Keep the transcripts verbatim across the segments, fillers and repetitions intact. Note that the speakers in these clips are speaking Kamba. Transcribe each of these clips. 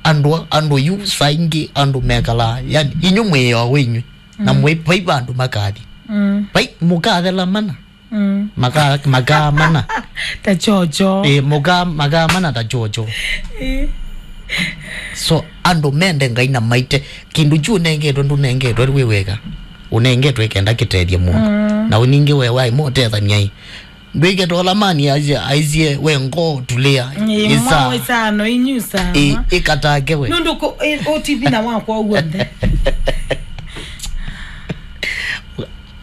Andũ, andũ yu saa ingĩ andũ mekalaa, yani, inyu mwĩo wenyu. Na mm. Mwĩ, vai vandũ makathi. Mm. Vai, mũkathela mana. Mm. Maka, makaa mana. Ta chocho. Eh, mũkaa, makaa mana ta chocho. Eh. So, andũ mende Ngai na maite. Kĩndũ kyu ũnengetwe, ndũnengetwe wĩ weka. Ũnengetwe kenda kĩtethye mũndũ. Mm. Na ũningĩ we waĩ mũtethanyai. Ndwĩke tola mani aisye, aisye we ngoo tulĩa. Ĩ, ĩsa. Mwa ĩsano inyu ĩsa. Ĩ, ĩkatake we. Nũndũ ko, ĩ, O T V na wakwa w'onthe.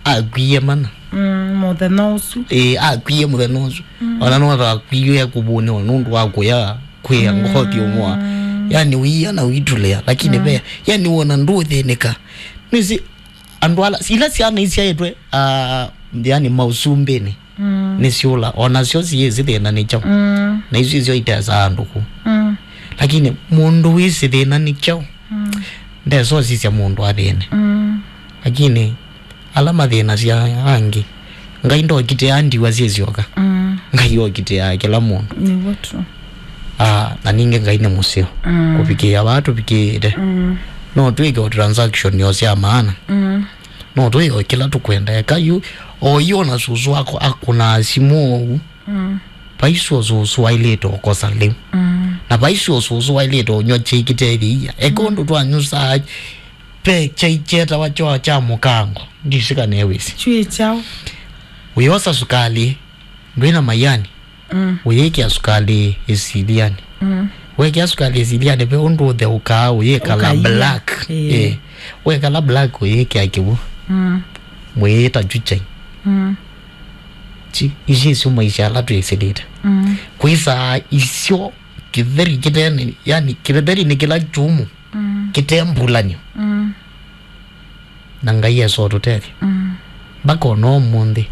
Akwie mana. Mm, mũthenya ũsu. Ĩ, akwie mũthenya ũsu. Mm. Ona no akwie kũvũnĩwa nũndũ wa kũya kwĩa ngothi ũmwa. Yani wia na witulea, lakini mm. Ve, yani wona ndũthĩnĩka. Nĩsi andũ ala, ila syana isyaĩtwe, ah, yani mausumbĩnĩ. Mm. Nĩsyũla, o nasyo siyĩsĩ thĩna nĩ kyaũ. Mm. Na isu isyo itesa andũ kũu. Mm. Lakini mũndũ wĩsĩ thĩna nĩ kyaũ, mm. Ndesosisya mũndũ athĩne. Mm. Lakini ala mathĩnasya angĩ, Ngai ndokitĩaa ndiwa syĩsyoka. Mm. Ngai okitĩaa kĩla mũndũ. Nĩw'o tu. Ah, na ningĩ Ngai nĩ mũseo. Mm. Kũvikĩĩa vaa tũvikĩĩte. Mm. No twĩke o transaction yo sya maana. Mm. No twĩo kĩla tũkwenda. Eka yu, o yu ona susu wako akũnaa simũ ũu. Mm. Vaisu o susu wailĩte ũkosa lĩu. Mm. Na vaisu o susu wailĩte ũnywa kyai kĩtethi ia. Eka mm. Ũndũ twanyusaa, ve kyai kyetawa kyo kya mũkango. Ndisika newĩsĩ. Kyui kyaũ? Ũyosa sukali, ndwĩna mayani. Mm. Ũyĩkĩa sukali ĩsilianĩ. Mm. Wekĩa sukali ĩsilianĩ, ve ũndũ ũtheũkaa, ũyĩkala ũkaia. Black. Ĩĩ. Ĩĩ. Wekala black, ũyĩkĩa kĩw'ũ. Mm. Mwĩĩta chuchai. Mm. Chi, ici isu maisha ala twĩsĩlĩte. Mm. Kwĩsaa isyo kĩtheri kĩtene, yani kĩtheri nĩ kĩla kyũmũ. Mm. Kĩte mbulanyo. Mm. Na Ngai esotũtethya. Mm. Mpaka ona ũmũnthĩ.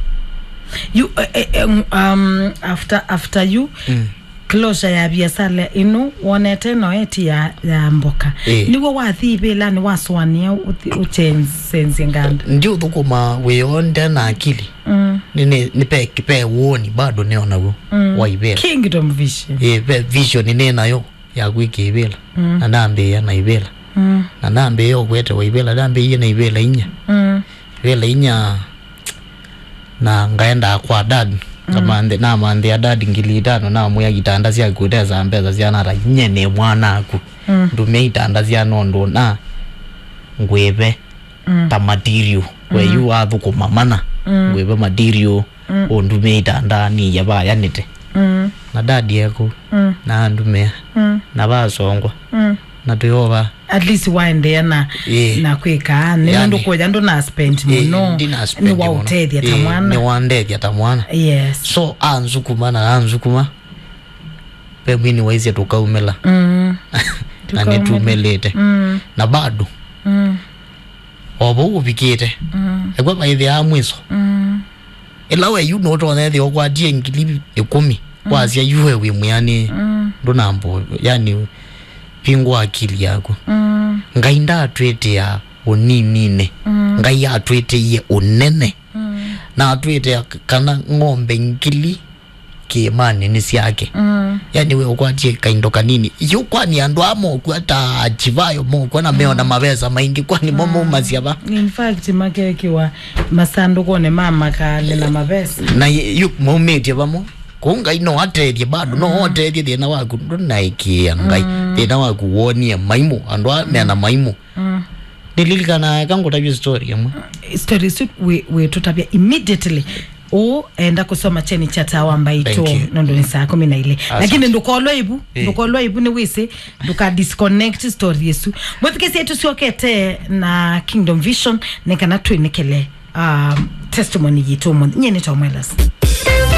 You, eh, eh, eh, um, after, after you, mm. Closure ya biasala ĩno, wonete no eti ya, ya mboka. Eh. Nĩw'o wathi ivĩlanĩ wasũanĩa ũthi-, ũchenzenzye nganda. Ndi ũthũkũma wĩoo nde na akili. Mm. Nĩ, nĩ, nĩ pe, pe woni bado nĩ onaw'o. Mm. Wa ivĩla. Kingdom vision. Eh, pe vision nĩ nayo. Ya kwĩka ivĩla. Mm. Na nambĩĩa na ivĩla. Mm. Na nambĩĩa ũkwetewa ivĩla, nambĩĩie na ivĩla inya. Mm. Ivĩla inya, na ngaendaa kwa dad. Mm. Ngamanthe-, namanthĩa dad ngili itano, namwĩa itanda syaku ũtesa mbesa syana ata, nye nĩ mwanaku. Mm. Ndũmĩa itanda sya nũndũ na ngwĩve. Mm. Ta material. We mm. Yu wathũkũma mana. Mm. Ngwĩve material. Mm. Ũndumĩa itanda niya vayanĩte. Mm. Na dad eku. Mm. Na andumĩa. Mm. Na vasongwa. Mm. Na twĩova. At least waendeea na, ĩĩ, na kwĩka. Nĩ yani, nũndũ kũya ndũna spend, ĩĩ, mũno. Ndina spend mũno. Nĩwaũtethya ta, ĩĩ, mwana. Nĩwandethya ta mwana. Yes. So, anzukuma na anzukuma. Ve mwini waisye tũkaumĩla. Mm. Na nĩtumĩlĩte. Mm. Na bado. Mm. O vau ũvikĩte. Mm. Ekwa vaĩthĩaa mwiso. Mm. Ĩla we yu nũtonya ĩthĩa ũkwatie ngili ĩkũmi, mm, wasya yu we wĩ mwĩanĩe. Mm. Ndũnambo, yani, vingũa akili yaku. Mm. Ngai ndatwĩtĩa ũnininĩ. Mm. Ngai atwĩtĩie ũnene. Mm. Na atwĩtĩa kana ng'ombe ngili kĩĩmanĩ nĩ syake. Mm. Yani we ũkwatie kaindo kanini. Yu kwani andũ aa mokw'a ta Chivayo mokw'a na meona, mm, mavesa maingĩ, kwani mo, mm, maumasya va? In fact, makekĩwa masandũkũnĩ ma makali na mavesa. Na y-, yu maumĩtye vamwe. Kũu Ngai no atethye bado, no, mm, otethye thĩna waku. Ndũnaĩkĩĩa Ngai. Mm. Thĩna waku wonie maimũ, andũ aa, mm, mena maimũ. Mm. Nĩlilikanaa eka ngũtavye story ĩmwe. Story isu wĩ, wĩtũtavya immediately. Ũũ enda kũsoma kyeni kya Tawa Mbaitũ. Thank you. Nũndũ nĩ saa kũmi na ilĩ. Asante. Lakini ndũkolwe ivu, eh, ndũkolwe ivu, nĩwĩsĩ, ndũka disconnect story ĩsu. Mwĩthukĩĩsye, tũsyokete na Kingdom Vision, nĩ kana twĩnĩkĩle, um, testimony yitũ ũmũnthĩ. Nyie nĩ Tom Wellas.